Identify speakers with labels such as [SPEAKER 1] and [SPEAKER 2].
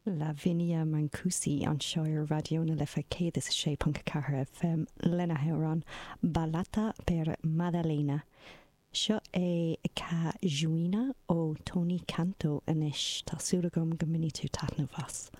[SPEAKER 1] Lavinia Mancusi anseo ar Raidió na Life 106.4 FM lena hamhrán Ballata per Maddalena. Seo é Ca Juina ó Toni Canto anois. Tá súil agam go mbainfidh tú taitneamh as.